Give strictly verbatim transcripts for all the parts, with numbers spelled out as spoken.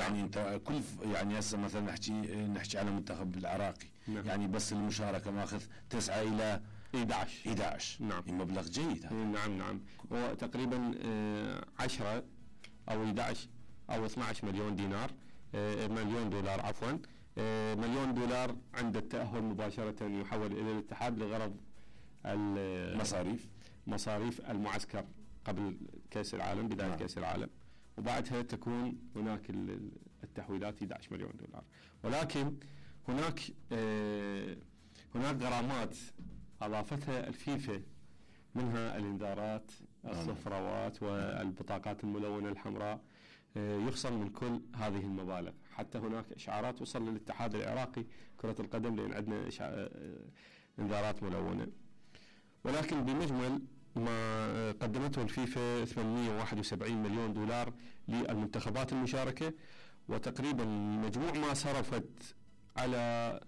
يعني انت كل يعني هسه مثلا نحكي نحكي على المنتخب العراقي نعم. يعني بس المشاركه ماخذ تسعة الى احد عشر احد عشر نعم مبلغ جيد هذا. نعم نعم هو تقريبا عشرة او احد عشر او اثني عشر مليون دينار مليون دولار عفوا مليون دولار عند التأهل مباشرة يحول الى الاتحاد لغرض المصاريف مصاريف المعسكر قبل كأس العالم بداية نعم. كأس العالم، وبعدها تكون هناك التحويلات احد عشر مليون دولار. ولكن هناك آه هناك غرامات اضافتها الفيفا، منها الانذارات الصفراوات والبطاقات الملونة الحمراء، آه يخصم من كل هذه المبالغ. حتى هناك اشعارات وصل للاتحاد العراقي كرة القدم لان عندنا آه انذارات ملونة. ولكن بمجمل ما قدمته الفيفا ثمانمئة وواحد وسبعين مليون دولار للمنتخبات المشاركة، وتقريبا مجموع ما صرفت على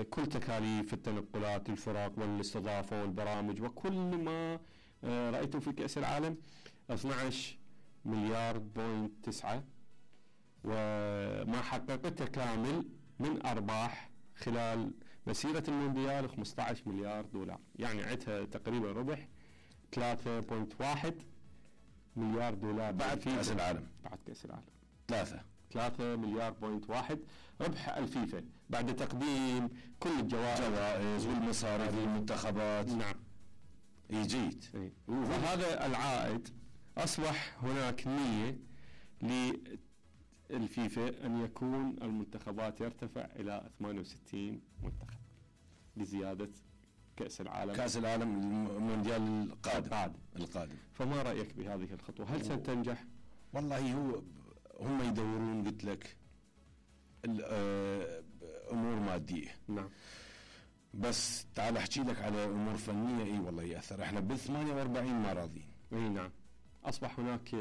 كل تكاليف التنقلات الفرق والاستضافة والبرامج وكل ما رأيته في كأس العالم اثني عشر مليار بوينت تسعة، وما حققته كامل من أرباح خلال مسيرة المونديال خمسة عشر مليار دولار، يعني عدها تقريبا ربح ثلاثة فاصلة واحد مليار دولار بعد كأس العالم بعد كأس العالم ثلاثة ثلاثة مليار بوينت واحد ربح الفيفا بعد تقديم كل الجوائز جوائز والمصاريف للمنتخبات. نعم جيد. وهذا العائد أصبح هناك نية للفيفا أن يكون المنتخبات يرتفع إلى ثمانية وستين منتخب لزيادة كأس العالم كأس العالم المونديال القادم القادم القادم فما رأيك بهذه الخطوة؟ هل ستنجح؟ والله هو هم يدورون قلت لك أمور مادية نعم، بس تعال أحكي لك على أمور فنية. إيه والله يأثر. إحنا بالثمانية وأربعين ما راضين. إيه نعم، أصبح هناك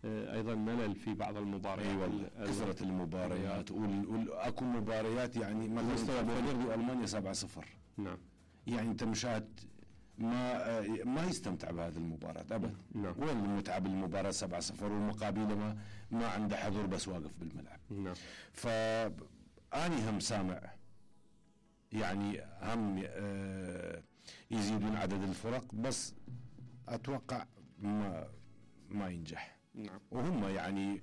أيضا ملل في بعض المباريات. أي والله كثرة المباريات وأكو مباريات يعني مثلا بولندا وألمانيا سبعة صفر. نعم، يعني أنت مشاهد ما ما يستمتع بهذه المباراة أبدا. نعم. وين المتعة بالمباراة سبعة صفر والمقابل ما ما عنده حضور بس واقف بالملعب. نعم. فأني هم سامع يعني هم آه يزيدون عدد الفرق، بس أتوقع ما ما ينجح. نعم. وهم يعني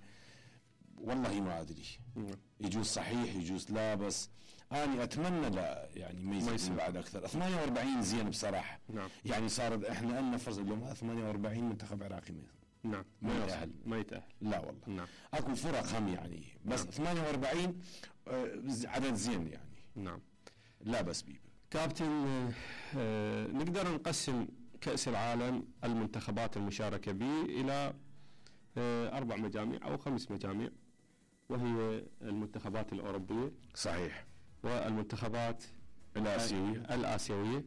والله ما أدري. نعم. يجوز صحيح يجوز لا، بس أنا أتمنى لا يعني ما يصير بعد أكثر. ثمانية وأربعين زين بصراحة. نعم. يعني صارت إحنا ألنا فرص اليوم ثمانية وأربعين منتخب عراقي ما نعم ما يتأهل ما يتأهل لا والله. نعم. أكو فرق هم يعني بس نعم. ثمانية وأربعين آه عدد زين يعني. نعم. لا بس بيب كابتن آه نقدر نقسم كأس العالم المنتخبات المشاركة به إلى آه أربع مجاميع أو خمس مجاميع، وهي المنتخبات الأوروبية صحيح، والمنتخبات الآسيوية الآسيوية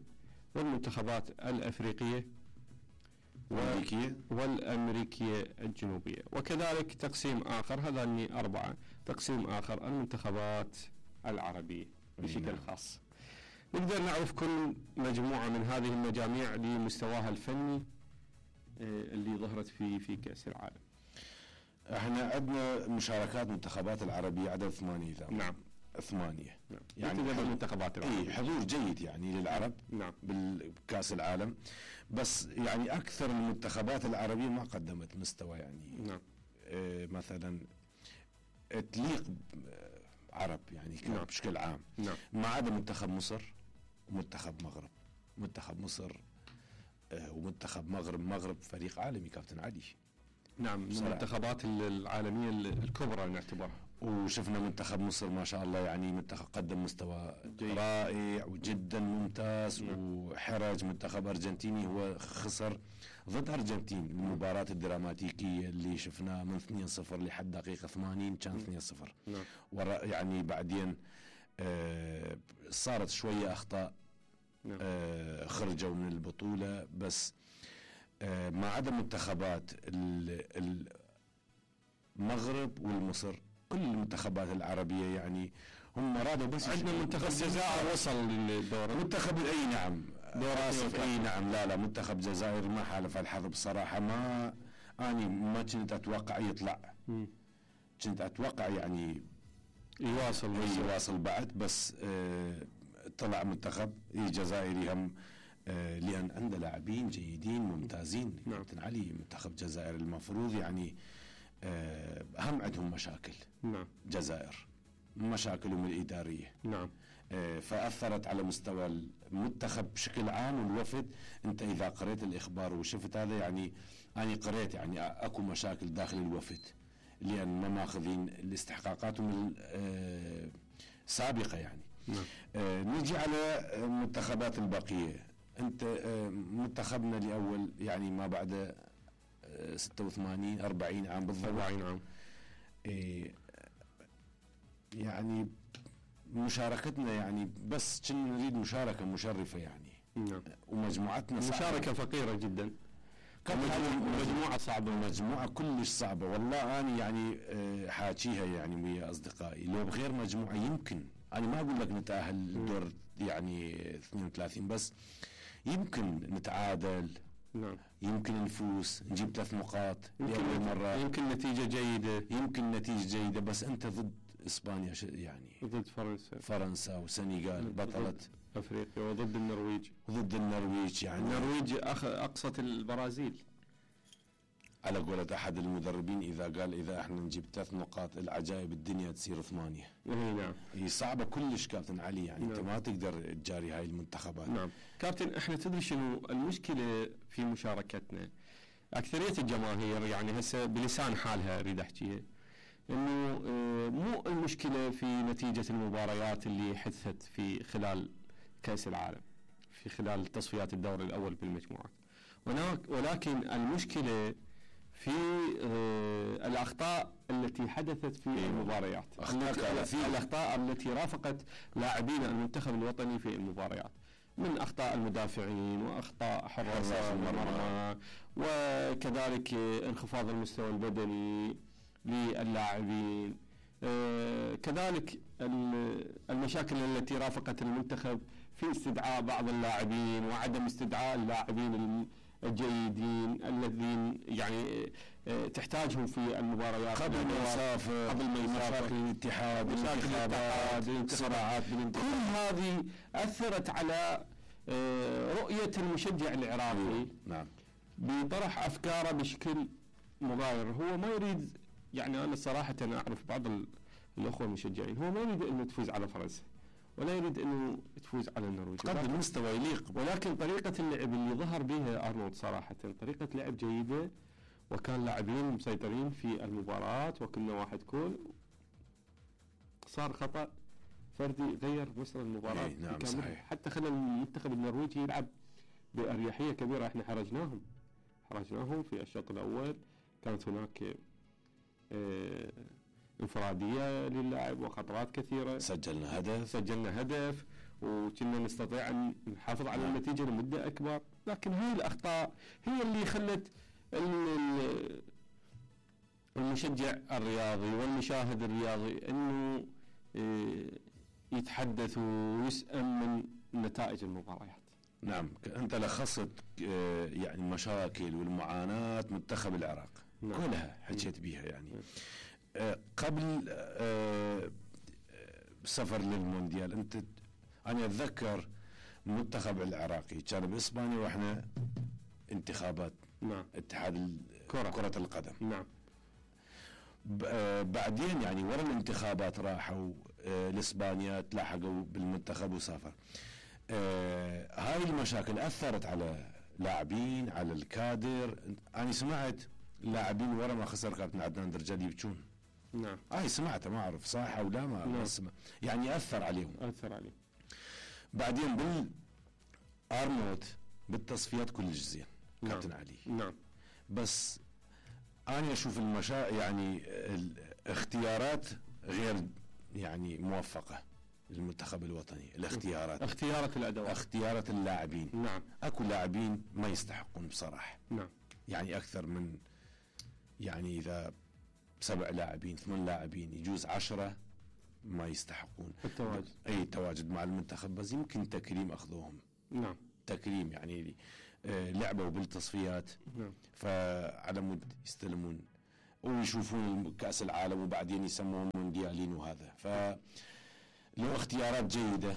والمنتخبات الأفريقية والأمريكية والأمريكية الجنوبية، وكذلك تقسيم آخر هذان أربعة تقسيم آخر المنتخبات العربية بشكل خاص. نقدر نعرف كل مجموعة من هذه المجاميع لمستواها الفني اللي ظهرت في في كأس العالم. احنا عندنا مشاركات منتخبات العربية عدد ثمانية. نعم ثمانية. نعم. يعني المنتخبات العربية. اي حضور جيد يعني للعرب. نعم. بالكأس العالم، بس يعني اكثر المنتخبات العربية ما قدمت مستوى يعني. نعم. اه مثلا تليق عرب يعني. نعم. بشكل عام. نعم. ما عدا منتخب مصر ومنتخب مغرب. منتخب مصر اه ومنتخب مغرب مغرب فريق عالمي كابتن علي. نعم، من المنتخبات العالمية الكبرى نعتبرها. وشفنا منتخب مصر ما شاء الله يعني منتخب قدم مستوى جيد. رائع وجدا ممتاز. م. وحرج منتخب أرجنتيني هو خسر ضد أرجنتين المباراة الدراماتيكية اللي شفناها من اثنين صفر لحد دقيقة ثمانين كان اثنين صفر. نعم. ورا يعني بعدين آه صارت شوية أخطاء. نعم. آه خرجوا من البطولة، بس آه ما عدا منتخبات المغرب والمصر كل المنتخبات العربية يعني هم رادوا. بس عندنا منتخب الجزائر وصل للدور. منتخب اي نعم دور آسف اي نعم لا لا منتخب الجزائر ما حالف الحظ بصراحة. ما اني ما كنت اتوقع يطلع. م. كنت اتوقع يعني يواصل يواصل بعد، بس آه طلع منتخب الجزائري هم آه لان عنده لاعبين جيدين ممتازين. نعم. كابتن علي منتخب الجزائر المفروض يعني آه هم عندهم مشاكل. نعم. جزائر مشاكلهم الاداريه. نعم. آه فاثرت على مستوى المنتخب بشكل عام والوفد. انت اذا قريت الاخبار وشفت هذا يعني انا قريت يعني اكو مشاكل داخل الوفد لان ما ماخذين الاستحقاقاتهم السابقه يعني. نعم. آه نجي على المنتخبات البقيه. انت آه منتخبنا الاول يعني ما بعد آه ستة وثمانين أربعين عام بالضبط. أربعين عام. آه يعني مشاركتنا يعني بس كنا نريد مشاركه مشرفه يعني. نعم. ومجموعتنا مشاركه فقيره جدا. مجموعه صعبه. مجموعه كلش صعبه والله. انا يعني آه حاكيها يعني ويا اصدقائي لو بغير مجموعه يمكن انا ما اقول لك نتاهل دور يعني اثنين وثلاثين بس يمكن نتعادل. نعم. يمكن نفوز نجيب ثلاث نقاط يمكن مرة. يمكن نتيجه جيده. يمكن نتيجه جيده بس انت ضد اسبانيا يعني ضد فرنسا. فرنسا وسنغال بطلة افريقيا وضد النرويج. ضد النرويج يعني النرويج أخ... اقصت البرازيل على قولة احد المدربين اذا قال اذا احنا نجيب ثلاث نقاط العجائب الدنيا تصير ثمانية. اي نعم. هي صعبة كلش كابتن علي يعني. نعم. انت ما تقدر تجاري هاي المنتخبات. نعم كابتن احنا تدري شنو المشكلة في مشاركتنا؟ اكثرية الجماهير يعني هسه بلسان حالها اريد احكيها انه مو المشكلة في نتيجة المباريات اللي حدثت في خلال كأس العالم في خلال تصفيات الدور الاول بالمجموعات، ولكن المشكلة في آه الأخطاء التي حدثت في المباريات. أخطاء الأخطاء التي رافقت لاعبين المنتخب الوطني في المباريات من أخطاء المدافعين وأخطاء حراس المرمى وكذلك انخفاض المستوى البدني للاعبين. آه كذلك المشاكل التي رافقت المنتخب في استدعاء بعض اللاعبين وعدم استدعاء اللاعبين الجيدين الذين يعني تحتاجهم في المباريات قبل ما يسافر قبل ما يسافر. مشاكل الاتحاد الانتخابات صراعات بالانتخابات كل هذه أثرت على رؤية المشجع العراقي. نعم. بطرح أفكاره بشكل مغاير. هو ما يريد يعني أنا صراحة أعرف بعض الأخوة المشجعين هو ما يريد أنه تفوز على فرنسا ولا يريد انه تفوز على النرويج قدم مستوى يليق، ولكن طريقة اللعب اللي ظهر بها ارنولد صراحة طريقة لعب جيدة وكان لاعبين مسيطرين في المباراة وكنا واحد كول. صار خطأ فردي غير مسار المباراة. نعم صحيح. حتى خلى المنتخب النرويجي يلعب بأريحية كبيرة. احنا حرجناهم حرجناهم في الشوط الاول. كانت هناك اه انفرادية للاعب وخطرات كثيرة. سجلنا هدف سجلنا هدف وكنا نستطيع أن نحافظ على النتيجة لمدة أكبر. لكن هي الأخطاء هي اللي خلت المشجع الرياضي والمشاهد الرياضي أنه يتحدث ويسأل من نتائج المباريات. نعم. أنت لخصت يعني المشاكل والمعاناة منتخب العراق. نعم. كلها حكيت بيها يعني. نعم. قبل سفر للمونديال انت انا اتذكر المنتخب العراقي كان باسبانيا واحنا انتخابات. نعم. اتحاد كرة, كرة القدم. نعم. بعدين يعني ورا الانتخابات راحوا لاسبانيا تلاحقوا بالمنتخب وسافر. هاي المشاكل اثرت على لاعبين على الكادر. انا سمعت لاعبين ورا ما خسر كابتن عدنان درجال يبكون. نعم. هاي سمعتها ما اعرف صح او لا ما نعم. اسمع يعني اثر عليهم. اثر عليهم. بعدين بال ارنولد بالتصفيات كلش زين. نعم. كابتن علي. نعم. بس انا اشوف المشا يعني الاختيارات غير يعني موفقه للمنتخب الوطني. الاختيارات اختيارات الادوات اختيارات اللاعبين. نعم. اكو لاعبين ما يستحقون بصراحه. نعم. يعني اكثر من يعني اذا سبع لاعبين ثمان لاعبين يجوز عشرة ما يستحقون التواجد. اي التواجد مع المنتخب بس يمكن تكريم اخذوهم. نعم. تكريم يعني آه لعبوا بالتصفيات. نعم. فعلى مود يستلمون ويشوفون كأس العالم وبعدين يسمون مونديالين وهذا. فلو اختيارات جيدة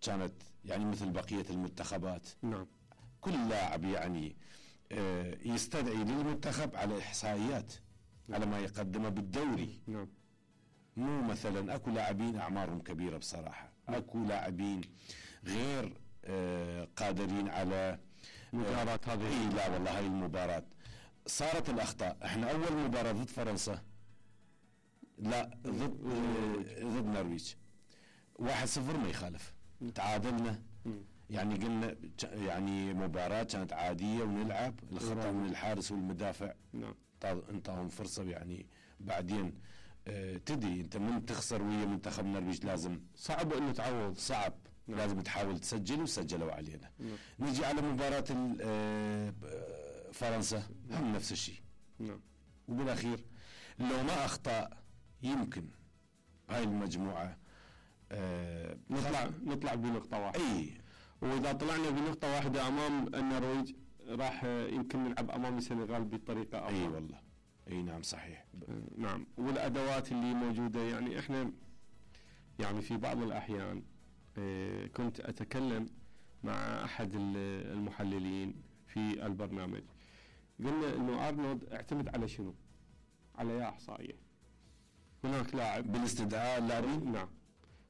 كانت يعني مثل بقية المنتخبات. نعم. كل لاعب يعني يستدعي للمنتخب على إحصائيات، على ما يقدمه بالدوري. نعم. مو مثلا اكو لاعبين اعمارهم كبيرة بصراحة، اكو لاعبين غير قادرين على مباراة هذه. اي لا والله هاي المباراة صارت الاخطاء. احنا اول مباراة ضد فرنسا، لا ضد ضد نرويج واحد صفر ما يخالف، تعادلنا. يعني قلنا يعني مباراة كانت عادية ونلعب، الخطأ من الحارس والمدافع. نعم. انطاهم فرصة يعني. بعدين اه تدري انت من تخسر ويا منتخب النرويج لازم صعب انه تعوض، صعب. نعم. لازم تحاول تسجل، وسجلوا علينا. نعم. نجي على مباراة اه فرنسا. نعم. هم نفس الشيء. نعم. وبالاخير لو ما اخطأ يمكن هاي المجموعة اه نطلع نطلع بنقطة واحدة. اي، واذا طلعنا بنقطة واحدة امام النرويج راح يمكن نلعب امام السنغال بطريقة افضل. اي والله. اي نعم صحيح. نعم. والادوات اللي موجودة يعني احنا يعني في بعض الاحيان اه كنت اتكلم مع احد المحللين في البرنامج، قلنا انه ارنولد اعتمد على شنو؟ على يا احصائية. هناك لاعب بالاستدعاء اللاعبين. نعم.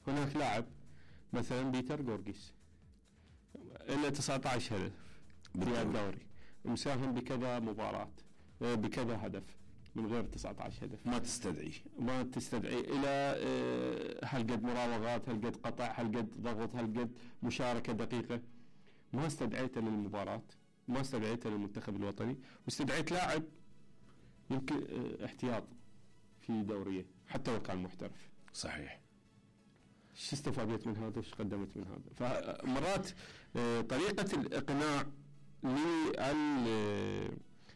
هناك لاعب مثلا بيتر غورغيس له تسعة عشر هدف في الدوري، مساهم بكذا مباراة بكذا هدف من غير تسعة عشر هدف. ما تستدعي ما تستدعي الى هالقد مراوغات، هالقد قطع، هالقد ضغط، هالقد مشاركة دقيقة. ما استدعيته للمباراة، ما استدعيته للمنتخب الوطني، واستدعيت لاعب يمكن احتياط في دوريه حتى لو كان محترف. صحيح. شو استفادت من هذا وش قدمت من هذا؟ فمرات طريقة الإقناع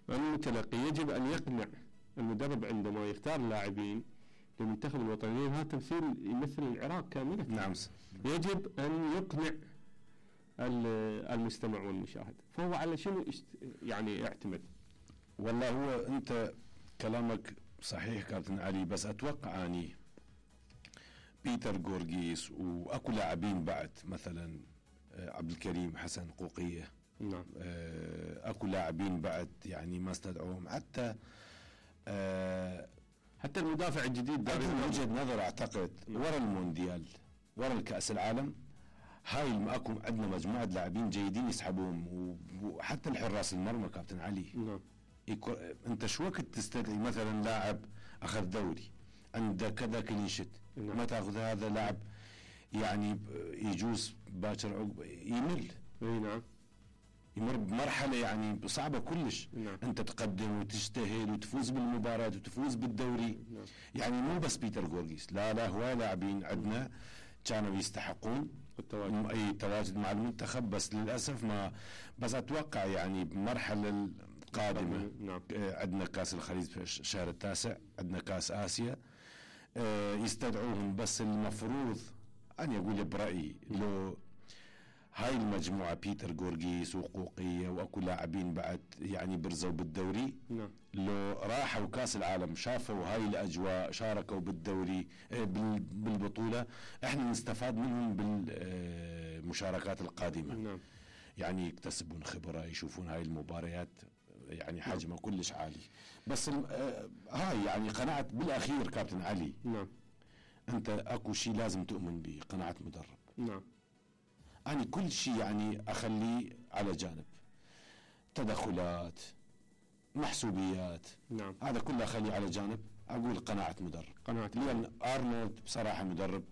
للمتلقي يجب أن يقنع المدرب عندما يختار لاعبين للمنتخب الوطني. هذا تمثيل يمثل العراق كاملة. نعم. يجب أن يقنع المستمع والمشاهد. فهو على شنو يعني يعتمد؟ والله هو أنت كلامك صحيح كابتن علي، بس أتوقع أني بيتر غورغيس واكو لاعبين بعد مثلا عبد الكريم حسن قوقية. نعم. اكو لاعبين بعد يعني ما استدعوهم. حتى حتى المدافع الجديد داري من وجهة نظر اعتقد ورا المونديال ورا الكأس العالم هاي اكو عندنا مجموعة لاعبين جيدين يسحبوهم، وحتى الحراس المرمى كابتن علي. نعم. انت شو وقت تستدعي مثلا لاعب اخذ دوري عنده كذا كليشت، نعم. ما تاخذ هذا لاعب يعني يجوز باكر عقب يمل. اي نعم. يمر بمرحله يعني صعبه كلش. نعم. انت تقدم وتجتهد وتفوز بالمباراه وتفوز بالدوري. نعم. يعني مو بس بيتر غورغيس، لا لا هواي لاعبين عندنا كانوا يستحقون التواجد. اي تواجد مع المنتخب، بس للاسف ما. بس اتوقع يعني بمرحله القادمه. نعم. عندنا كاس الخليج في الشهر التاسع، عندنا كاس اسيا يستدعوهم. بس المفروض أنا أقول برأيي لو هاي المجموعة بيتر غورغيس وقوقية وأكو لاعبين بعد يعني برزوا بالدوري. نعم. لو راحوا كاس العالم شافوا هاي الأجواء شاركوا بالدوري بالبطولة، احنا نستفاد منهم بالمشاركات القادمة. نعم. يعني يكتسبون خبرة، يشوفون هاي المباريات يعني حجمه كلش عالي. بس هاي يعني قناعة بالأخير كابتن علي. نعم. أنت أكو شيء لازم تؤمن به، قناعة مدرب. نعم. أنا كل شيء يعني أخليه على جانب، تدخلات محسوبيات. نعم. هذا كله أخليه على جانب، أقول قناعة مدرب. قناعة. لأن أرنولد بصراحة مدرب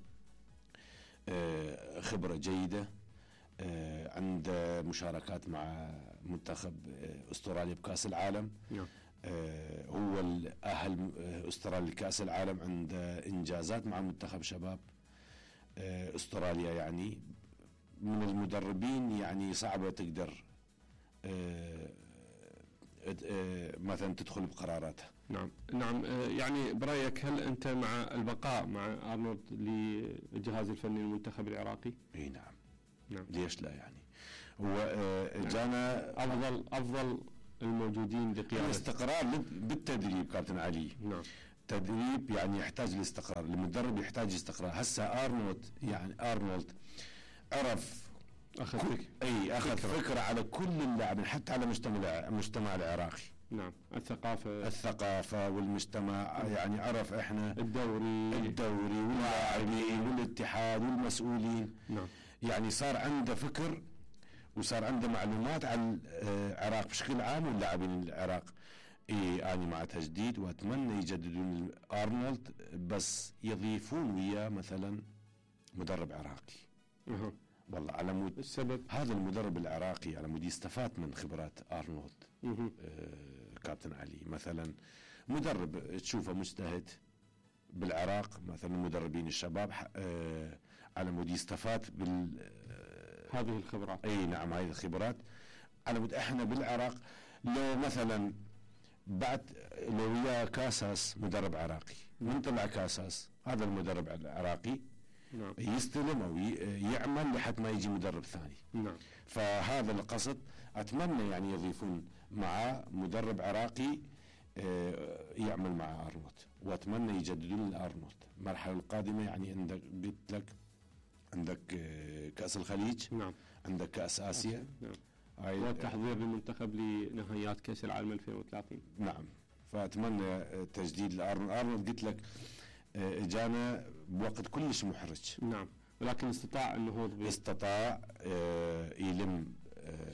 خبرة جيدة، عنده مشاركات مع منتخب أستراليا بكأس العالم. نعم. آه هو الأهل أستراليا لكأس العالم، عنده إنجازات مع منتخب شباب آه أستراليا. يعني من المدربين يعني صعبة تقدر آه آه مثلا تدخل بقراراته. نعم. نعم. يعني برأيك هل أنت مع البقاء مع أرنولد للجهاز الفني للمنتخب العراقي؟ اي نعم. نعم. ليش لا؟ يعني هو آه جانا أفضل أفضل الموجودين لقيادة الاستقرار بالتدريب كابتن علي. نعم. تدريب يعني يحتاج الاستقرار، المدرب يحتاج استقرار. هسه ارنولد يعني ارنولد عرف اخذ كل فكرة. اي اخذ فكرة. فكره على كل اللاعبين حتى على مجتمع المجتمع العراقي. نعم. الثقافة الثقافة والمجتمع يعني عرف احنا الدوري الدوري واللاعبين والاتحاد والمسؤولين. نعم. يعني صار عنده فكر وصار عنده معلومات عن العراق بشكل عام واللاعبين العراق. إيه أنا مع تجديد وأتمنى يجددون أرنولد بس يضيفون وياه مثلا مدرب عراقي. أه. والله على مود السبب هذا المدرب العراقي على مود يستفاد من خبرات أرنولد. أه. آه كابتن علي مثلا مدرب تشوفه مجتهد بالعراق مثلا مدربين الشباب آه على مود يستفاد بال آه هذه الخبرات. اي نعم هذه الخبرات على مود احنا بالعراق لو مثلا بعد لو ويا كاساس مدرب عراقي من طلع كاساس هذا المدرب العراقي نعم. يستلم او يعمل لحد ما يجي مدرب ثاني. نعم. فهذا القصد اتمنى يعني يضيفون معاه مدرب عراقي يعمل مع ارنولد واتمنى يجددون الارنولد. المرحله القادمه يعني عندك قلت لك عندك كاس الخليج. نعم. عندك كاس اسيا. نعم. والتحضير للمنتخب لنهائيات كاس العالم ألفين وثلاثين. نعم. فاتمنى تجديد لارنولد. ارنولد قلت لك اجانا بوقت كلش محرج. نعم. ولكن استطاع النهوض استطاع يلم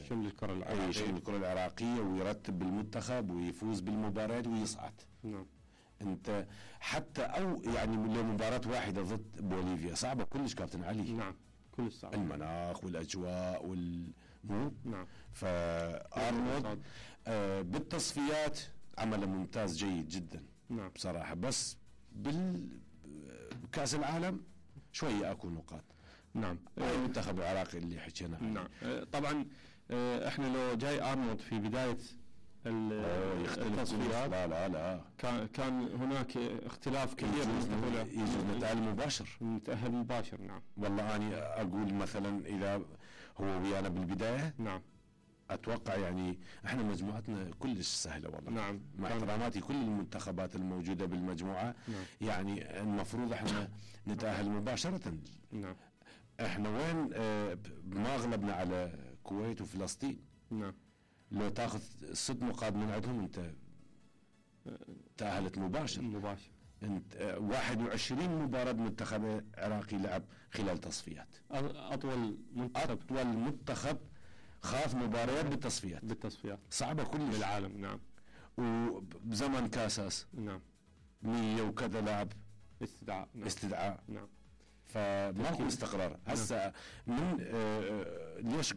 شمل الكرة العراقية شمل الكرة العراقية ويرتب بالمنتخب ويفوز بالمباريات ويصعد. نعم. انت حتى او يعني لو مباراة واحدة ضد بوليفيا صعبة كلش كابتن علي. نعم. كل صعب. المناخ والاجواء وال مو نعم. فارنولد آه بالتصفيات عمل ممتاز جيد جدا. نعم. بصراحة بس بالكأس العالم شوية اكو نقاط. نعم. المنتخب العراقي اللي حكينا عنه. نعم. طبعا احنا لو جاي ارنولد في بداية التصفيات لا لا لا كان كان هناك اختلاف كبير. يجوز نتأهل مباشر. نتأهل مباشر. نعم. والله أنا أقول مثلا إذا هو ويانا بالبداية. نعم. أتوقع يعني إحنا مجموعتنا كلش سهلة والله. نعم. مع احتراماتي كل المنتخبات الموجودة بالمجموعة. نعم. يعني المفروض إحنا نتأهل مباشرة. نعم. إحنا وين آه ما غلبنا على الكويت وفلسطين. نعم. لو تاخذ ست نقاط من عندهم انت تأهلت مباشر. مباشر. انت واحد وعشرين مباراة منتخب عراقي لعب خلال تصفيات. اطول منتخب اطول منتخب خاض مباريات بالتصفيات. بالتصفيات. صعبة كلش بالعالم. نعم. وبزمن كاساس. نعم. مية وكذا لاعب استدعاء. نعم. استدعاء. نعم. فماكو استقرار. هسه من آه ليش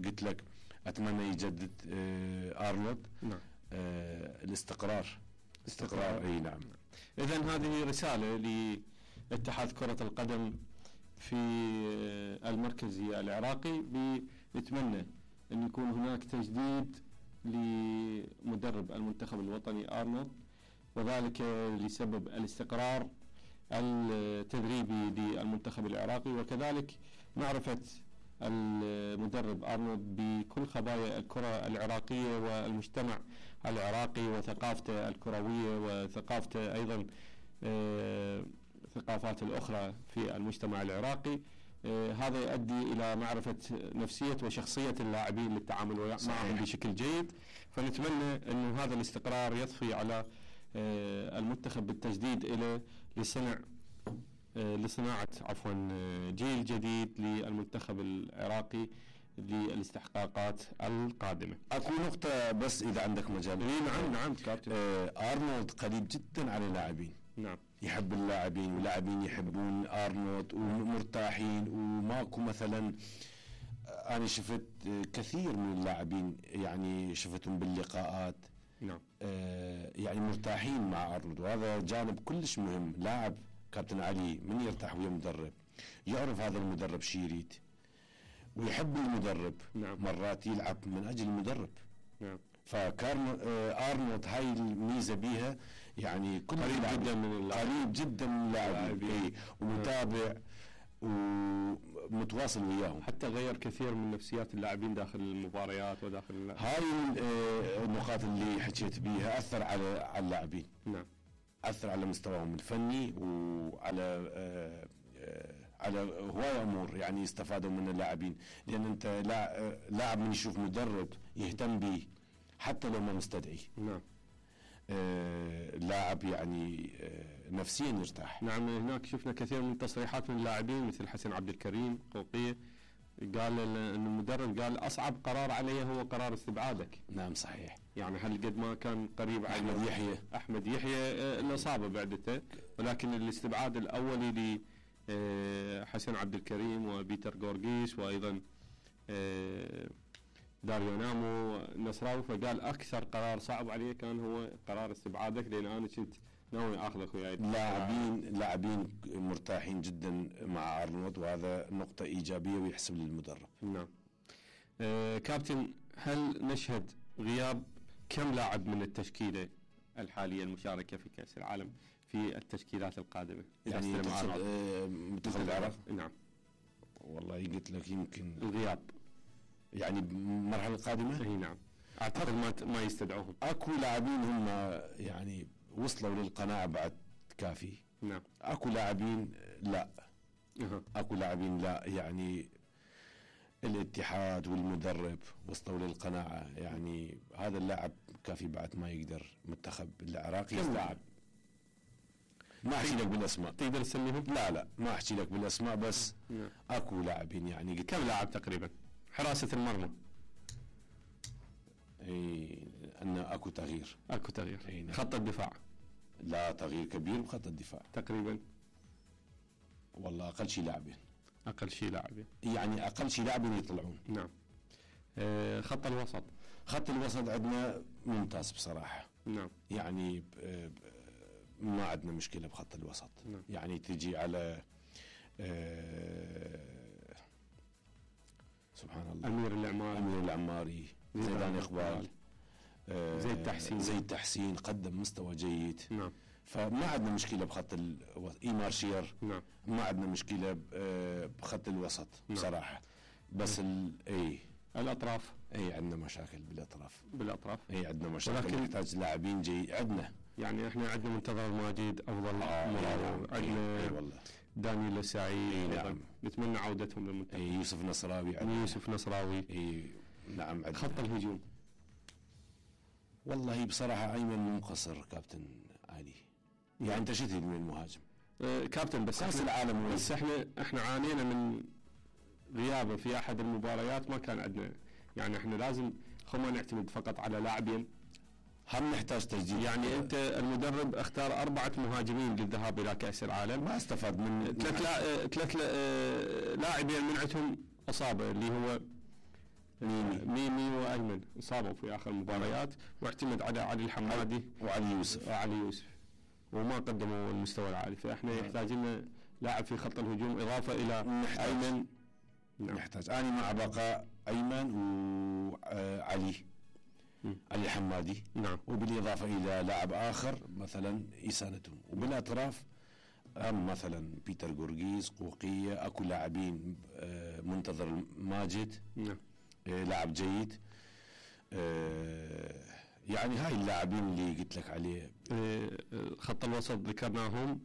قلت لك اتمنى يجدد آه ارنولد. نعم. آه الاستقرار. استقرار. اي نعم. اذا هذه رسالة لاتحاد كرة القدم في المركزي العراقي بنتمنى ان يكون هناك تجديد لمدرب المنتخب الوطني ارنولد وذلك لسبب الاستقرار التدريبي للمنتخب العراقي وكذلك معرفة المدرب أرنولد بكل خبايا الكرة العراقية والمجتمع العراقي وثقافته الكروية وثقافته أيضا ثقافات الأخرى في المجتمع العراقي. هذا يؤدي إلى معرفة نفسية وشخصية اللاعبين للتعامل معهم بشكل جيد. فنتمنى أن هذا الاستقرار يضفي على المنتخب بالتجديد إلى لصنع لصناعة عفوا جيل جديد للمنتخب العراقي للاستحقاقات القادمة. اكو نقطة بس اذا عندك مجال. نعم نعم كابتن. آه ارنولد قريب جدا على اللاعبين. نعم. يحب اللاعبين واللاعبين يحبون ارنولد ومرتاحين وماكو مثلا انا شفت كثير من اللاعبين يعني شفتهم باللقاءات. نعم. آه يعني مرتاحين مع ارنولد وهذا جانب كلش مهم. لاعب كابتن علي من يرتاح ويا مدرب يعرف هذا المدرب شي يريد ويحب المدرب. نعم. مرات يلعب من اجل المدرب. نعم. فكان آه ارنولد هاي الميزه بيها يعني كل قريب جدا من قريب جدا من اللاعبين ومتابع. ومتواصل وياهم. حتى غير كثير من نفسيات اللاعبين داخل المباريات وداخل اللاعب. هاي النقاط اللي حكيت بيها اثر على على اللاعبين. نعم. اثر على مستواهم الفني وعلى آه على هواية امور يعني استفادوا من اللاعبين، لان انت لاعب من يشوف مدرب يهتم به حتى لو ما مستدعي. نعم. آه لاعب يعني آه نفسيا يرتاح. نعم. هناك شفنا كثير من التصريحات من اللاعبين مثل حسن عبد الكريم قوقية، قال ان المدرب قال اصعب قرار علي هو قرار استبعادك. نعم صحيح. يعني هل قد ما كان قريب على احمد يحيى احمد يحيى الاصابه بعدته، ولكن الاستبعاد الاولي ل حسن عبد الكريم وبيتر غورغيس وايضا داريو نامو نصراوي، فقال اكثر قرار صعب علي كان هو قرار استبعادك، لان انا كنت ناوي اخذك وياي. لاعبين لاعبين مرتاحين جدا مع ارنولد، وهذا نقطه ايجابيه ويحسب للمدرب. نعم. آه كابتن، هل نشهد غياب كم لاعب من التشكيله الحاليه المشاركه في كاس العالم في التشكيلات القادمه؟ يعني منتخب العراق؟ نعم. والله قلت لك يمكن الغياب يعني بالمرحله القادمه. اي نعم. اعتقد ما ما يستدعوهم. اكو لاعبين هم يعني وصلوا للقناعه بعد كافي. نعم. اكو لاعبين لا. أه. اكو لاعبين لا، يعني الاتحاد والمدرب وصلوا للقناعه يعني هذا اللاعب كافي بعد ما يقدر منتخب العراقي يستوعب. ما احكي لك بالاسماء. تقدر تسميهم؟ لا لا ما احكي لك بالاسماء، بس نعم. اكو لاعبين يعني. كم لاعب تقريبا؟ حراسه المرمى. اي ان اكو تغيير. اكو تغيير. نعم. خط الدفاع لا تغيير كبير بخط الدفاع تقريبا. والله اقل شيء لاعبين. اقل شيء لاعبين يعني اقل شيء لاعبين يطلعون. نعم. آه خط الوسط. خط الوسط عندنا ممتاز بصراحه. نعم. يعني ما عندنا مشكله بخط الوسط. نعم. يعني تجي على آه سبحان الله امير العماري امير العماري زيدان اقبال آه زيد تحسين زيد تحسين قدم مستوى جيد. نعم. فما عندنا مشكله بخط الوسط. ايمار شير. نعم. ما عندنا مشكله بخط الوسط. نعم. بصراحه. بس ال... اي الاطراف. اي عندنا مشاكل بالاطراف. بالاطراف اي عندنا مشاكل، ولكن نحتاج لاعبين جيد. عندنا يعني احنا عندنا منتظر الماجد افضل آه مراوغ. عندنا اي والله دانيال السعيد. نعم. نتمنى عودتهم للمنتخب. اي يوسف نصراوي. عندنا يوسف نصراوي. اي نعم. عندنا. خط الهجوم والله بصراحه ايمن مقصر كابتن علي. يعني انت شتي من المهاجم آه كابتن، بس كاس العالم بس احنا احنا عانينا من غيابه في احد المباريات، ما كان عندنا يعني احنا لازم خو ما نعتمد فقط على لاعبين، هم نحتاج تجديد. يعني انت المدرب اختار اربعه مهاجمين للذهاب الى كاس العالم، ما استفاد من ثلاث لا... ثلاث لاعبين منعتهم اصابه اللي هو ميمي ميمي وايمن، اصابوا في اخر المباريات، واعتمد على علي الحمادي وعلي يوسف وعلي يوسف وما قدموا المستوى العالي، فاحنا يحتاج لنا لاعب في خط الهجوم اضافه الى نحتاج. ايمن. نعم. نحتاج انا مع بقاء ايمن وعلي علي الحمادي. نعم. وبالاضافه الى لاعب اخر مثلا يساندهم، وبالاطراف هم مثلا بيتر غورغيس قوقيه. اكو لاعبين منتظر ماجد. نعم. لاعب جيد. يعني هاي اللاعبين اللي قلت لك عليه. خط الوسط ذكرناهم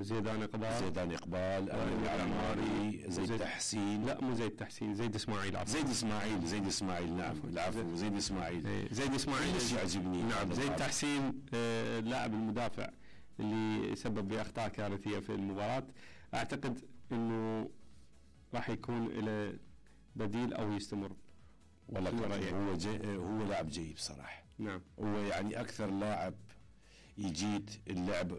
زيدان اقبال زيدان اقبال امين العماري زيد, زيد تحسين. لا مو زيد تحسين، زيد اسماعيل. عفوا زيد اسماعيل زيد اسماعيل نعم العفو زيد اسماعيل. زيد اسماعيل ايش يعجبني. نعم. زيد تحسين اللاعب المدافع اللي سبب باخطاء كارثيه في المباراه، اعتقد انه راح يكون له بديل او يستمر. والله هو جي هو لاعب جيد بصراحه. نعم. هو يعني اكثر لاعب يجيد اللعب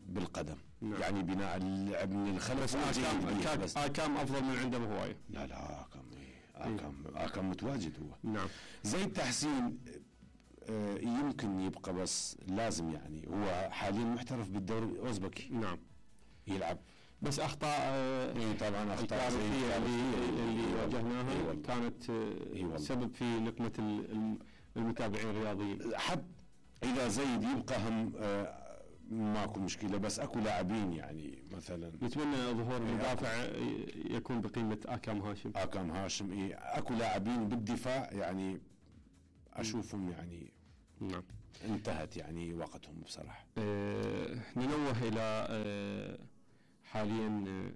بالقدم. نعم. يعني بناء اللعب من الخلف. بس آكام, بس آكام افضل من عنده بهوايه. لا لا آكام إيه. آكام آكام متواجد هو. نعم. زيد تحسين آه يمكن يبقى، بس لازم يعني هو حاليا محترف بالدوري الاوزبكي. نعم. يلعب بس اخطاء آه إيه طبعا اخطاء اللي, اللي واجهناها إيه كانت إيه سبب في نقمه المتابعين الرياضيين. حتى اذا زيد يبقى هم آه ماكو مشكله، بس اكو لاعبين يعني مثلا نتمنى ظهور مدافع يكون بقيمه اكرم هاشم. اكرم هاشم إيه، اكو لاعبين بالدفاع يعني اشوفهم يعني نعم انتهت يعني وقتهم بصراحه. أه ننوه الى أه حاليا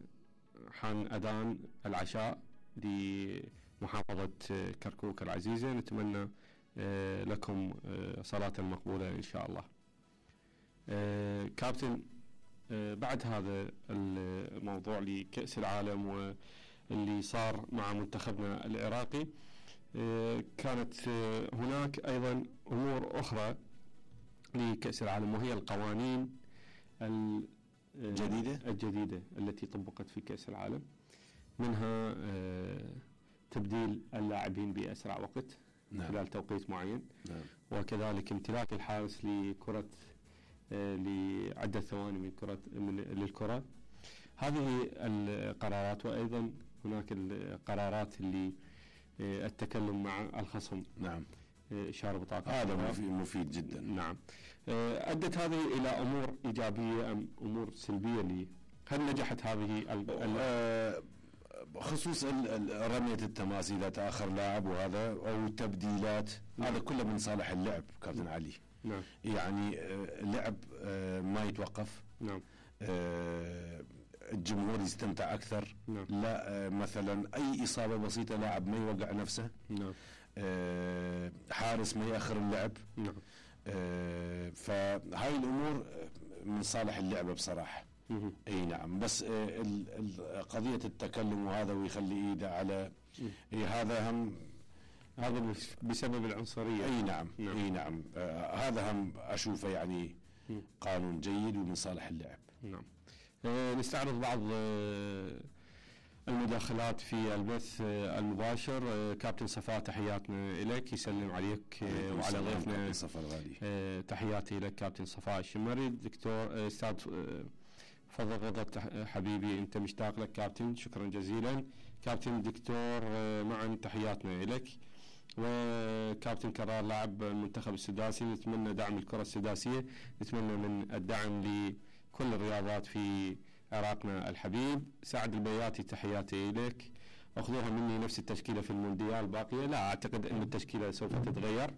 حان اذان العشاء لمحافظه كركوك العزيزه، نتمنى أه لكم أه صلاه مقبوله ان شاء الله. أه كابتن، أه بعد هذا الموضوع لكأس العالم واللي صار مع منتخبنا العراقي، أه كانت أه هناك ايضا امور اخرى لكأس العالم، وهي القوانين الجديدة الجديدة التي طبقت في كأس العالم، منها أه تبديل اللاعبين بأسرع وقت نعم. خلال توقيت معين، نعم. وكذلك امتلاك الحارس لكرة أه لعدة ثواني من كرة من للكرة. هذه القرارات، وأيضا هناك القرارات اللي أه التكلم مع الخصم. نعم. إشارة بطاقة هذا مفيد, مفيد جدا. نعم. أدت هذه إلى أمور إيجابية أم أمور سلبية لي؟ هل نجحت هذه ال ال خصوص رمية التماس إذا تأخر لاعب وهذا أو التبديلات؟ نعم. هذا كله من صالح اللعب كابتن علي. نعم. يعني اللعب ما يتوقف. نعم. الجمهور يستمتع أكثر. نعم. لا مثلا أي إصابة بسيطة لاعب ما يوقع نفسه. نعم. أه حارس ما يأخر اللعب. نعم. أه فهاي الأمور من صالح اللعبة بصراحة. مه. اي نعم، بس أه قضية التكلم وهذا ويخلي ايده على إيه هذا هم هذا بسبب العنصرية. اي نعم. نعم. اي نعم. أه هذا هم اشوفه يعني م. قانون جيد ومن صالح اللعب. نعم. أه نستعرض بعض أه المداخلات في البث المباشر. كابتن صفاء تحياتنا لك، يسلم عليك وعلى ضيفنا صفاء الغالي. تحياتي لك كابتن صفاء الشمري. دكتور استاذ فضل رضا حبيبي انت مشتاق لك كابتن، شكرا جزيلا. كابتن دكتور معا تحياتنا لك. وكابتن كرار لاعب المنتخب السداسي، نتمنى دعم الكرة السداسية، نتمنى من الدعم لكل الرياضات في عراقنا الحبيب. سعد البياتي تحياتي إليك، أخذوها مني نفس التشكيلة في المونديال باقية، لا أعتقد أن التشكيلة سوف تتغير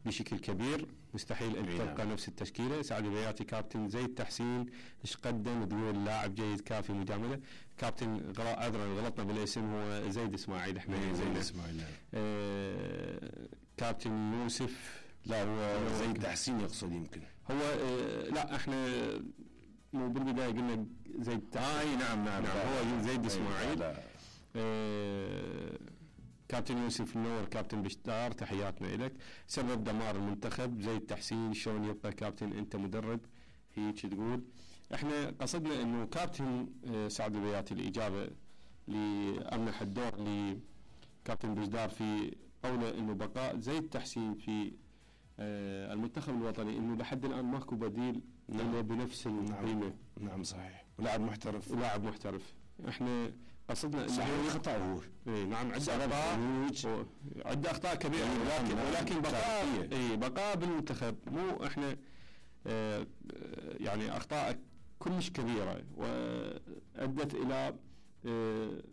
بشكل كبير، مستحيل أن تبقى نفس التشكيلة. سعد البياتي. كابتن زيد تحسين ايش قدم؟ تقول لاعب جيد كافي مجاملة. كابتن عذرا غلطنا بالاسم، هو زيد اسماعيل احنا زيد اسماعيل. آه كابتن يوسف. لا هو زيد تحسين يقصد يمكن هو آه لا احنا مو بالبداية قلنا زيد آه اي نعم نعم, نعم هو زيد اسماعيل. آه كابتن يوسف منور. كابتن بشتار تحياتنا لك. سبب دمار المنتخب زيد تحسين، شلون يبقى كابتن انت مدرب؟ هيك تقول. احنا قصدنا انه كابتن آه سعد البياتي الاجابه لامنح الدور لكابتن بشدار في قوله انه بقاء زيد تحسين في آه المنتخب الوطني، انه لحد الان ماكو بديل له بنفس القيمه. نعم. نعم صحيح، ولاعب محترف. ولاعب محترف. احنا قصدنا صحيح خطأ هو. اي نعم عنده اخطاء، عنده اخطاء كبيره، ولكن ولكن بقاء اي بقاء بالمنتخب مو احنا آه يعني اخطاء كلش كبيره وادت الى آه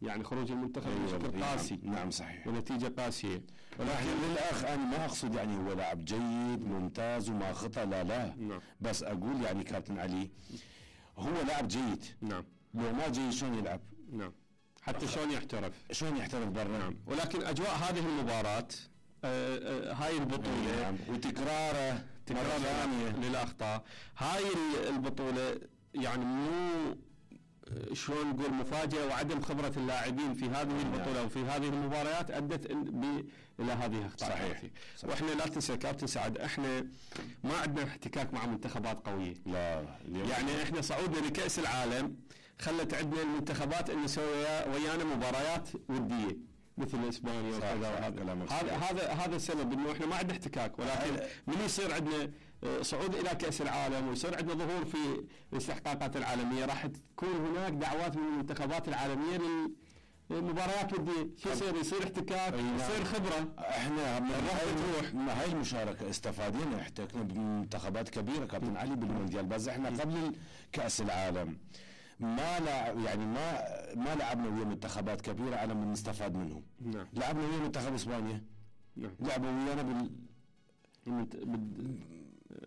يعني خروج المنتخب بشكل قاسي. نعم صحيح، ونتيجه قاسيه. ولكن للاخ انا ما اقصد يعني هو لاعب جيد ممتاز وما خطأ، لا لا. نعم. بس اقول يعني كابتن علي هو لاعب جيد. نعم. لو ما جيد شلون يلعب؟ نعم. حتى شلون يحترف؟ شلون يحترف برا؟ نعم. ولكن اجواء هذه المباراه آه آه هاي البطوله نعم. وتكراره مرة ثانية للأخطاء، هاي البطولة يعني مو شلون نقول مفاجأة، وعدم خبرة اللاعبين في هذه البطولة وفي هذه المباريات أدت إلى هذه الأخطاء. صحيح. صحيح. وإحنا لا تنسى كابتن سعد إحنا ما عندنا احتكاك مع منتخبات قوية. لا. يعني إحنا صعودنا لكأس العالم خلت عندنا المنتخبات أن نسوي ويانا مباريات ودية مثل اسبانيا وكذا. هذا هذا هذا السبب انه احنا ما عندنا احتكاك، ولكن من يصير عندنا صعود الى كاس العالم ويصير عندنا ظهور في الاستحقاقات العالميه راح تكون هناك دعوات من المنتخبات العالميه مباريات وديه شو يصير يصير احتكاك يصير خبره. احنا من هاي المشاركه استفادينا، احتكنا بمنتخبات كبيره كابتن علي بالمونديال، بس احنا قبل كاس العالم ما لا يعني ما ما لعبنا ويا منتخبات كبيره على من نستفاد منهم. نعم. لعبنا ويا منتخب اسبانيا. نعم. لعبوا ويانا بال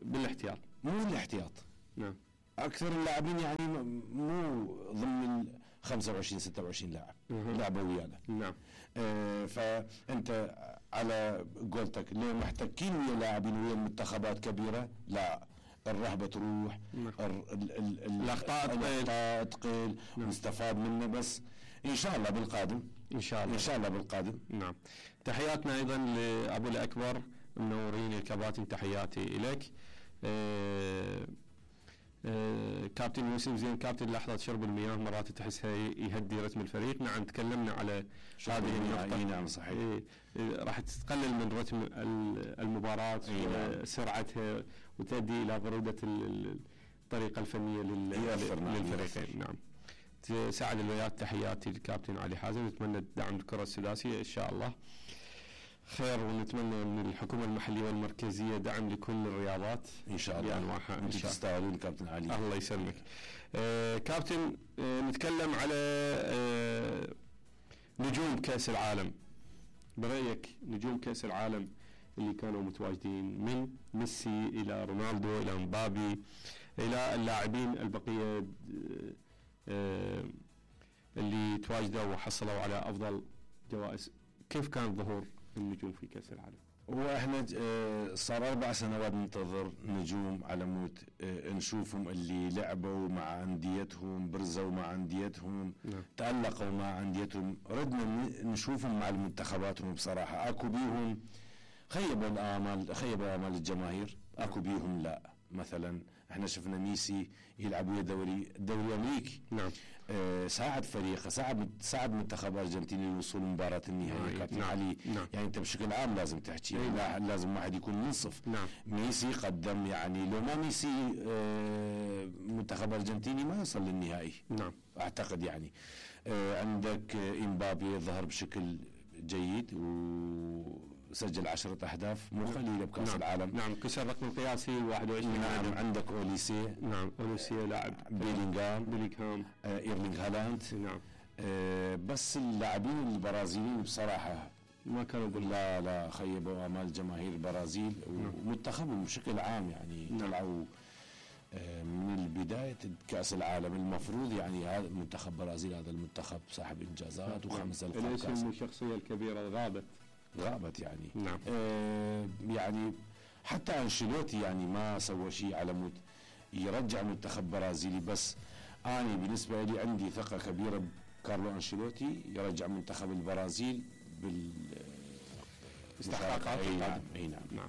بالاحتياط مو الاحتياط. نعم. اكثر اللاعبين يعني مو ضمن ال خمسة وعشرين ستة وعشرين لاعب لعبوا ويانا. نعم. آه فانت على قولتك ليه محتكين ويا لاعبين ويا منتخبات كبيره؟ لا، الرهبه تروح. نعم. الاخطاء الاخطاء تقل ونستفاد منه. بس ان شاء الله بالقادم ان شاء الله ان شاء الله بالقادم. نعم. تحياتنا ايضا لابو الاكبر منورين الكباتن، تحياتي اليك. أه أه كابتن يوسف زين، كابتن لحظه شرب المياه مرات تحسها يهدي رتم الفريق. نعم تكلمنا على هذه النقطه. نعم صحيح. إيه راح تقلل من رتم المباراه وسرعتها وتؤدي الى بروده الطريقه الفنيه للفريقين. نعم. سعد الويات، تحياتي للكابتن علي حازم، نتمنى دعم الكره السداسيه ان شاء الله خير، ونتمنى من الحكومه المحليه والمركزيه دعم لكل الرياضات ان شاء الله. يعني انتم تستاهلون كابتن علي. الله يسلمك. آه كابتن، آه نتكلم على آه نجوم كاس العالم. برايك نجوم كاس العالم اللي كانوا متواجدين من ميسي الى رونالدو الى مبابي الى اللاعبين البقيه آه اللي تواجدوا وحصلوا على افضل جوائز، كيف كان ظهور النجوم في كاس العالم؟ واحنا صار اربع سنوات ننتظر نجوم على مود نشوفهم اللي لعبوا مع انديتهم، برزوا مع انديتهم. نعم. تألقوا مع انديتهم، ردنا نشوفهم مع المنتخباتهم. بصراحه اكو بيهم خيبوا الامال، خيبوا امال الجماهير. اكو بيهم لا، مثلا احنا شفنا ميسي يلعب ويا دوري الدوري الامريكي. نعم. آه ساعد فريقه، ساعد ساعد منتخب ارجنتيني للوصول لمباراه النهائيه. كابتن نعم. علي. نعم. يعني انت بشكل عام لازم تحكي. نعم. لازم واحد يكون منصف. نعم. ميسي قدم، يعني لو ما ميسي آه منتخب ارجنتيني ما يوصل للنهائي. نعم. اعتقد يعني آه عندك آه امبابي ظهر بشكل جيد وسجل عشرة أهداف مو قليلة بكأس نعم. العالم. نعم. كسر رقم قياسي واحد وعشرين. نعم. عندك أوليسي. نعم. أوليسي لاعب. بيلينغهام. بيلينغهام. آه إيرلينغ هالاند. نعم. آه بس اللاعبين البرازيليين بصراحة ما كانوا لا لا خيبوا آمال جماهير البرازيل. نعم. ومنتخبهم بشكل عام يعني. نعم. طلعوا من البداية كأس العالم المفروض يعني هذا منتخب برازيل، هذا المنتخب صاحب إنجازات وخمس ألقاب كأس. الاسم الشخصية الكبيرة غابت غابت يعني. نعم. آه يعني حتى أنشيلوتي يعني ما سوى شيء على مود يرجع منتخب برازيلي. بس أنا بالنسبة لي عندي ثقة كبيرة بكارلو أنشيلوتي يرجع منتخب البرازيل بال استحقاقات. أي نعم. أي نعم. نعم.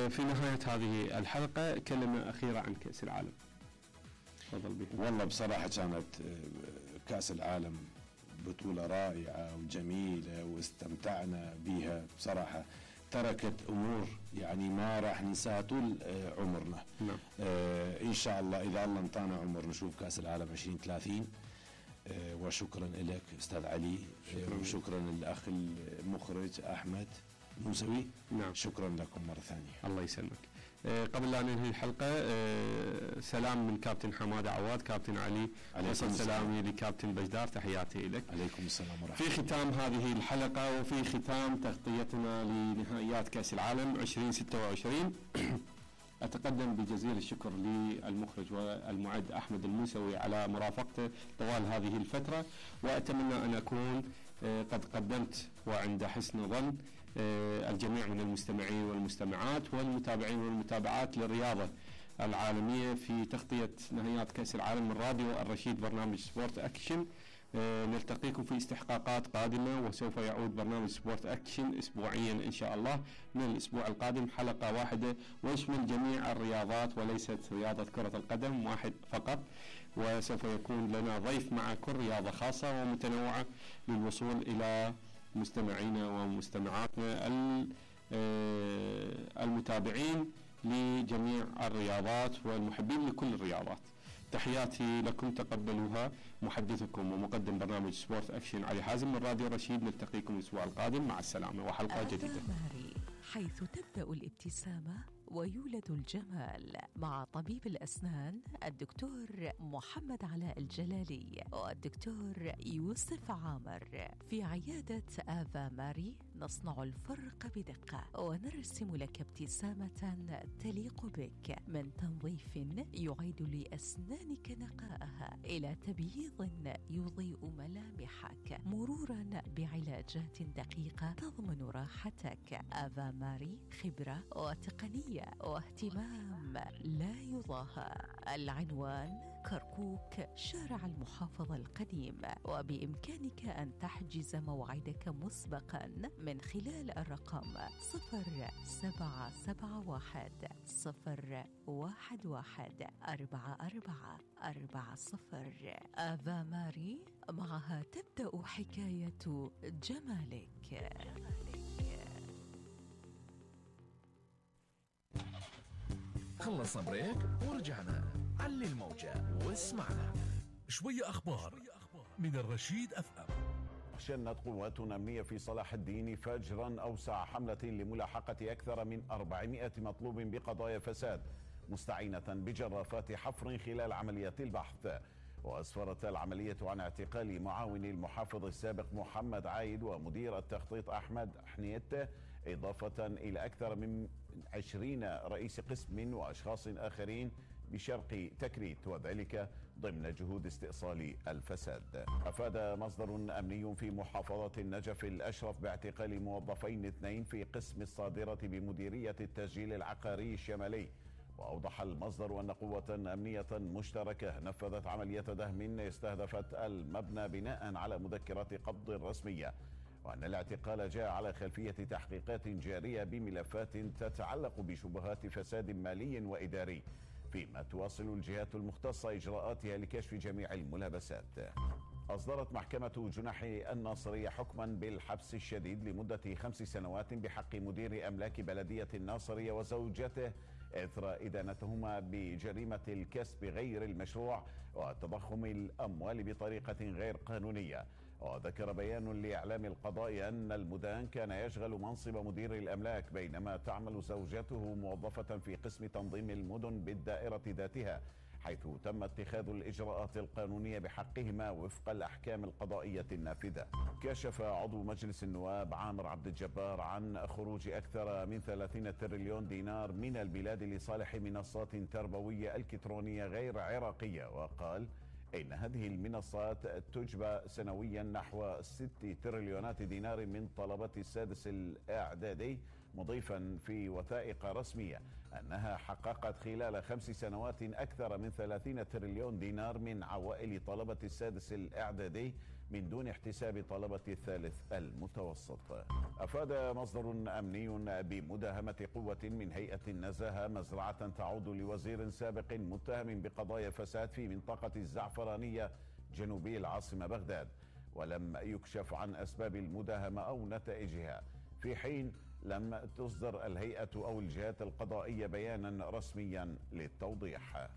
في نهاية هذه الحلقة كلمة أخيرة عن كأس العالم. تفضل بها. والله بصراحة كانت كأس العالم بطولة رائعة وجميلة واستمتعنا بها بصراحة. تركت أمور يعني ما راح ننساها طول عمرنا. نعم. آه إن شاء الله إذا الله انطانا عمر نشوف كأس العالم عشرين ثلاثين. آه وشكرا لك أستاذ علي. شكرا. آه وشكرا للأخ المخرج أحمد موسوي. نعم. شكرا لكم مرة ثانية. الله يسلمك. أه قبل لا ننهي الحلقة أه سلام من كابتن حمادة عواد، كابتن علي، وصل سلامي لكابتن بجدار، تحياتي لك. عليكم السلام ورحمة الله. في ختام هذه الحلقة وفي ختام تغطيتنا لنهائيات كأس العالم عشرين ستة وعشرين أتقدم بجزيل الشكر للمخرج والمعد أحمد الموسوي على مرافقته طوال هذه الفترة، وأتمنى أن أكون أه قد قدمت وعند حسن ظن الجميع من المستمعين والمستمعات والمتابعين والمتابعات للرياضة العالمية في تغطية نهائيات كأس العالم من راديو الرشيد برنامج سبورت أكشن. نلتقيكم في استحقاقات قادمة، وسوف يعود برنامج سبورت أكشن أسبوعيا إن شاء الله من الأسبوع القادم حلقة واحدة ويشمل جميع الرياضات وليست رياضة كرة القدم واحد فقط، وسوف يكون لنا ضيف مع كل رياضة خاصة ومتنوعة للوصول إلى مستمعينا ومستمعاتنا المتابعين لجميع الرياضات والمحبين لكل الرياضات. تحياتي لكم، تقبلوها. محدثكم ومقدم برنامج سبورت أكشن علي حازم من راديو رشيد. نلتقيكم الأسبوع القادم، مع السلامة وحلقة جديدة. ماري، حيث تبدأ الابتسامة ويولد الجمال، مع طبيب الأسنان الدكتور محمد علاء الجلالي والدكتور يوسف عامر. في عيادة آفا ماري نصنع الفرق بدقة ونرسم لك ابتسامة تليق بك، من تنظيف يعيد لأسنانك نقاءها إلى تبييض يضيء ملامحك، مرورا بعلاجات دقيقة تضمن راحتك. آفا ماري، خبرة وتقنية واهتمام لا يضاهى. العنوان كركوك، شارع المحافظة القديم، وبإمكانك أن تحجز موعدك مسبقا من خلال الرقم صفر سبعة سبعة واحد صفر واحد واحد أربعة أربعة أربعة صفر. آفا ماري، معها تبدأ حكاية جمالك. خلصنا بريك ورجعنا. علي الموجة واسمعنا. شوية أخبار من الرشيد أف أم. شنت قوات أمنية في صلاح الدين فجرا أوسع حملة لملاحقة أكثر من أربعمائة مطلوب بقضايا فساد، مستعينة بجرافات حفر خلال عمليات البحث. وأسفرت العملية عن اعتقال معاون المحافظ السابق محمد عايد ومدير التخطيط أحمد حنيت، إضافة إلى أكثر من عشرين رئيس قسم وأشخاص آخرين بشرق تكريت، وذلك ضمن جهود استئصال الفساد. أفاد مصدر أمني في محافظة النجف الأشرف باعتقال موظفين اثنين في قسم الصادرة بمديرية التسجيل العقاري الشمالي. وأوضح المصدر أن قوة أمنية مشتركة نفذت عملية دهم استهدفت المبنى بناء على مذكرات قبض رسمية، وأن الاعتقال جاء على خلفية تحقيقات جارية بملفات تتعلق بشبهات فساد مالي وإداري، فيما تواصل الجهات المختصة إجراءاتها لكشف جميع الملابسات. أصدرت محكمة جناح الناصرية حكما بالحبس الشديد لمدة خمس سنوات بحق مدير أملاك بلدية الناصرية وزوجته إثر إدانتهما بجريمة الكسب غير المشروع وتضخم الأموال بطريقة غير قانونية. وذكر بيان لإعلام القضاء أن المدان كان يشغل منصب مدير الأملاك بينما تعمل زوجته موظفة في قسم تنظيم المدن بالدائرة ذاتها، حيث تم اتخاذ الإجراءات القانونية بحقهما وفق الأحكام القضائية النافذة. كشف عضو مجلس النواب عامر عبد الجبار عن خروج أكثر من ثلاثين تريليون دينار من البلاد لصالح منصات تربوية إلكترونية غير عراقية، وقال إن هذه المنصات تجبى سنويا نحو ست تريليونات دينار من طلبة السادس الإعدادي، مضيفا في وثائق رسمية أنها حققت خلال خمس سنوات أكثر من ثلاثين تريليون دينار من عوائل طلبة السادس الإعدادي من دون احتساب طلبة الثالث المتوسط. أفاد مصدر أمني بمداهمة قوة من هيئة النزاهة مزرعة تعود لوزير سابق متهم بقضايا فساد في منطقة الزعفرانية جنوبي العاصمة بغداد، ولم يكشف عن أسباب المداهمة أو نتائجها، في حين لم تصدر الهيئة أو الجهات القضائية بيانا رسميا للتوضيح.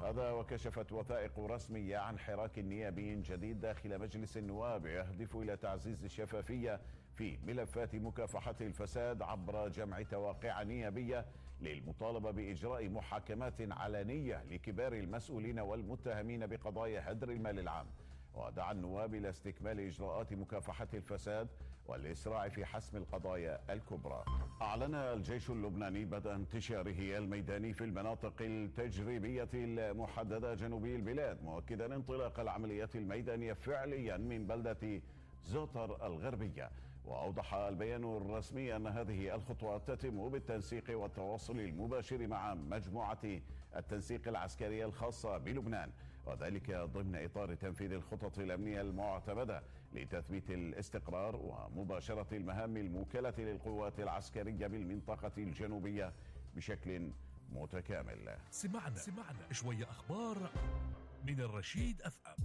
هذا وكشفت وثائق رسمية عن حراك نيابي جديد داخل مجلس النواب يهدف إلى تعزيز الشفافية في ملفات مكافحة الفساد عبر جمع تواقيع نيابية للمطالبة بإجراء محاكمات علنية لكبار المسؤولين والمتهمين بقضايا هدر المال العام. ودعا النواب إلى استكمال إجراءات مكافحة الفساد والإسراع في حسم القضايا الكبرى. أعلن الجيش اللبناني بدء انتشاره الميداني في المناطق التجريبية المحددة جنوبي البلاد، مؤكدا انطلاق العمليات الميدانية فعليا من بلدة زوتر الغربية. وأوضح البيان الرسمي أن هذه الخطوات تتم بالتنسيق والتواصل المباشر مع مجموعة التنسيق العسكرية الخاصة بلبنان، وذلك ضمن إطار تنفيذ الخطط الأمنية المعتمدة لتثبيت الاستقرار ومباشرة المهام الموكلة للقوات العسكرية بالمنطقة الجنوبية بشكل متكامل. سمعنا سمعنا شوية أخبار من الرشيد أف أم.